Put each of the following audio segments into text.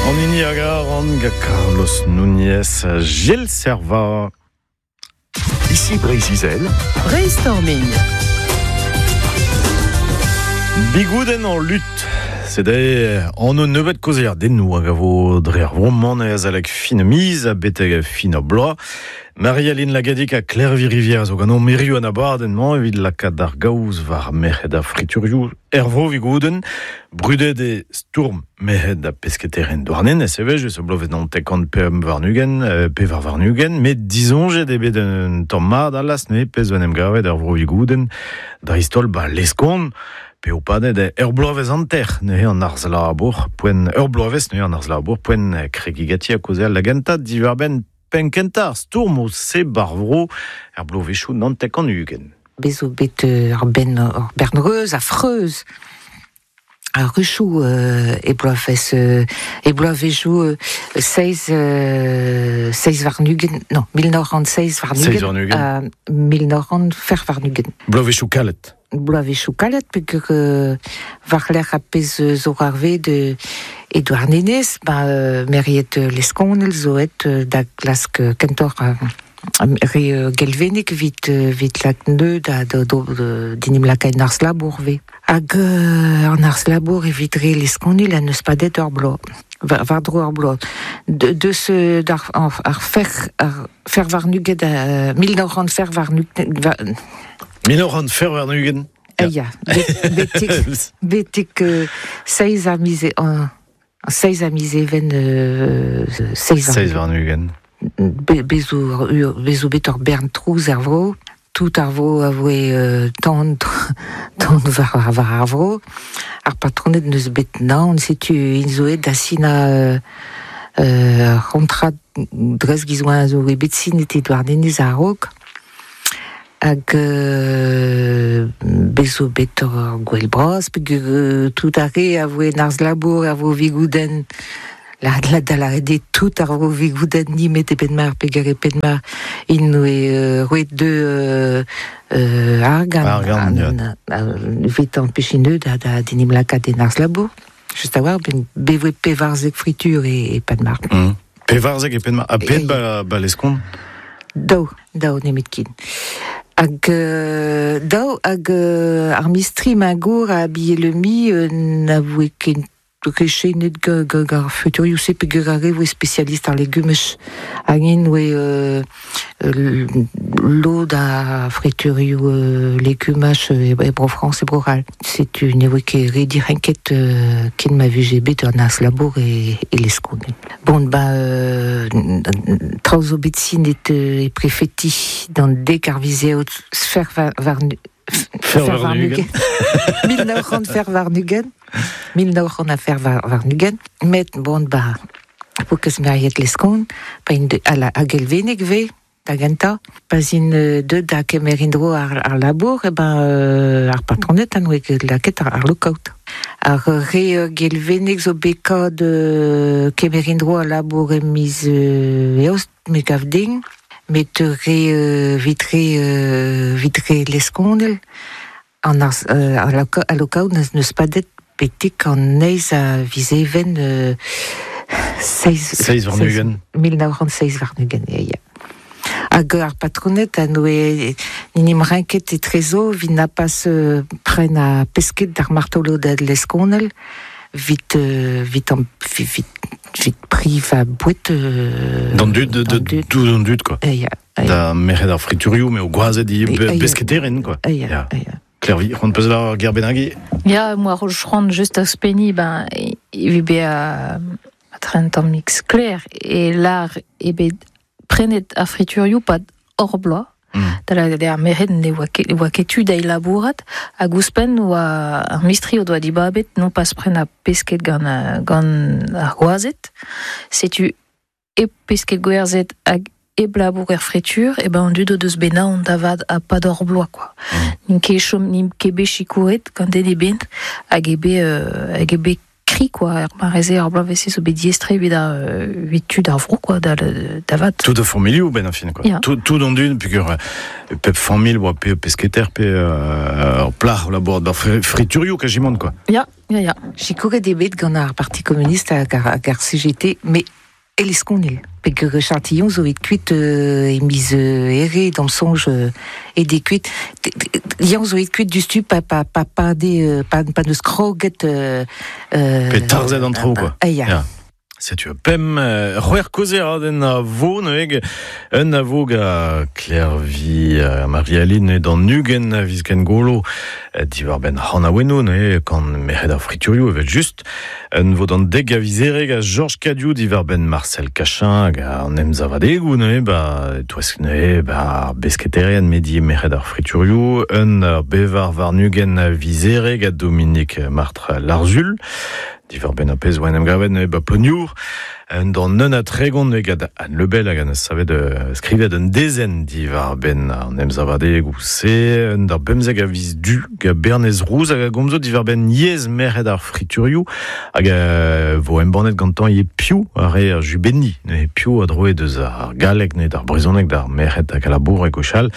An hini a garan gant Carlos Núñez, Gilles Servat. Ici Breizh-Izel. Brainstorming. Bigoudenn en lutte. Sede an o nebeut kaozeadennoù hag a vo dre ar vro-mañ azalek fin miz ha betek fin ar bloaz. Marie-Aline Lagadic ha Klervi Rivière zo ganeomp hiziv an abadenn-mañ evit lakaat ar gaoz war merc'hed ar friturioù er vro Vigoudenn. Brudet eo stourm merc'hed ha pesketaerien Douarnenez evel-just, bloavezh 99 24, met disoñjet eo bet un tamm mat alas neuze pezh zo en em gavet er vro Vigoudenn, dreist-holl ba Leskon, p'eo padet ur bloavezh hanter neuze an harz-labour, poent ur bloavezh neuze an harz-labour, poent kregiñ ganti ha kaozeal da gentañ diwar-benn penn-kentañ ar stourmoù-se ba'r vro er bloavezhioù 99. Bez zo bet ur benn ur bern reuz ha freuz ar ruchoù e bloavezh e bloavezhioù seizh seizh warn-ugent non 1927 ha 1924. Bloavezhioù kalet. Bloavezhioù kalet peogwir war-lerc'h ar pezh zo c'hoarvezet e Douarnenez, ba meriet Leskonel zo aet da glask kentoc'h re Gelveneg evit evit lak neud da d'en em lakaat en arz-labour 'vez. Hag an arz-labour evit re Leskonil en deus padet ur bloaz, war-dro ur bloaz. Deus ar ar fer ar fer warn-ugent 1924 1924. Ya, betek betek seizh a miz seizh a miz Even seizh Seizh warn-ugent. Bez zo bez zo bet ur bern trouz er vro. Tout ar vro a voe tan tan war war ar vro. Ar patroned n'eus bet naon, setu int zo aet da sinañ ur c'hontrad dres giz oa zo bet sinet e Douarnenez a-raok. Hag bez zo bet ur gouel bras peogwir tout ar re a voe en harz-labour a vo Vigoudenn la da lâret eo tout ar vro Vigoudenn nemet e Penmarc'h peogwir e Penmarc'h int oe roet deu argant Argant, evit ampechin deu da d'en em lakaat en harz-labour. Just a-walc'h, bet voe 14 fritur e Penmarc'h. 14 e Penmarc'h. Ha pet ba, ba Leskon? Daou, daou nemetken. Hag daou hag ar mistri magour a Bielemi na voe ket rechenet gant ar futurioù-se peogwir ar re voe spesialist ar legumaj hag int voe lod a friturioù legumaj e Bro-Frañs e Bro-C'hall. Setu ne voe ket re direnket ken ma vije bet an harz-labour e, e Leskon. Bon, ba, traoù zo bet sinet e prefeti d'an dek ar vizeot fer war Fer warn-ugent. 1900 fer warn-ugent. 1900 a fer warn-ugent. Met, bon, ba, po ket meriet Leskon, pa int a Gelveneg 've, da gentañ. Pa 'z int deuet da kemer en-dro ar, ar labour, e ben, ar patroned a noe ket lakaet ar, ar lookout. Ar re Gelveneg zo bet kad kemer en-dro al labour e miz Eost, me gav din, met re evit re evit re Leskonel, an arz al lookout n'eus padet betek an eizh a viz Even seizh Seizh warn-ugent. 1927, ya, ya. Hag ar patroned a noe n'en em renket etrezo evit na pas prenañ pesked d'ar martoloded Leskonel evit evit evit evit privañ boued D'an dud, de, tout an dud, quoi. Ya, ya. Da merc'hed ar friturioù, mais o gwazed i besketeren, quoi. Ya, ya. Klervi, c'hoant peus lar ger bennak Ya, moi c'hoant just ouzhpenniñ, ben, evit bezañ un tammig sklaer e lar eo bet prenet ar friturioù 'pad hor bloaz. Da lâret eo ar merc'hed ne oa ket, oa ket tu dezhe labourat hag ouzhpenn oa ar mistri o doa dibabet non pas prenañ pesked gant, gant ar gwazed. Setu hep pesked gwerzhet hag hep labour er fritur, e ben an dud o deus bet naon da vat ha pad hor bloaz quoi. N'int ket chom, n'int ket bet sikouret gant den ebet hag eo bet, hag eo bet. kri, quoi, ar mareze ar bloavezh zo bet diestre evit ar evit tud ar vro, quoi, da, da vat. Tout a familhoù ben a fin, quoi. Ya. Tout, tout an dud, pugur pep familh oa pe pesketer, pe ur plac'h o labourat bar friturioù kajimant, quoi. Ya, ya, ya. Sikouret eo bet gant ar Parti communiste hag ar, hag ar CGT, met Eleskonil. Peogwir Châtillon zo et kuit e miz Here, d'am soñj, e de kuit. Yann zo et kuit diouzhtu pa pa pa pa de pa pa neus kroget Pe tarzhet an traoù, quoi. Ah, ya. Ya. Setu pemp c'hwec'h kaozeadenn a vo neuze un a vo ga Klervi Marie-Aline d'an 20 a viz Gengolo diwar-benn c'hanaouennoù neuze gant merc'hed ar friturioù evel just. Un vo d'an 10 a viz Here ga Georges Cadiou diwar-benn Marcel Cachin hag an emsavadegoù neuze ba e-touesk neuze ba ar besketerien medi merc'hed ar friturioù. Un ar bevar warn-ugent a viz Here ga Dominique Martre Larzul diwar-benn ar pezh oa en em gavet neuze ba Ploneour. Un d'an 31 neuze gant Anne Lebel hag a neus savet skrivet un dezenn diwar-benn an emsavadegoù-se. Un d'ar 15 a viz Du gant Bernez Rouz hag a gomzo diwar-benn yezh merc'hed ar friturioù hag a vo embannet gantañ ivez piv a re ar jubenniñ. Neuze piv a droe deus ar galleg neuze d'ar brezhoneg d'ar merc'hed hag a laboure gwechall.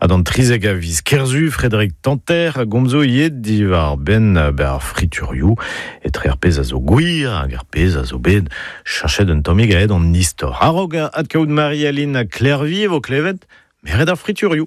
Ha d'an 13 a viz Kerzu, Frédéric Tanter a gomzo ivez diwar-benn ar friturioù etre ar pezh a zo gwir hag ar pezh a zo bet cheñchet un tammig aet an istor. A-raok adkaout Marie-Aline ha Klervi e vo klevet merc'hed ar friturioù.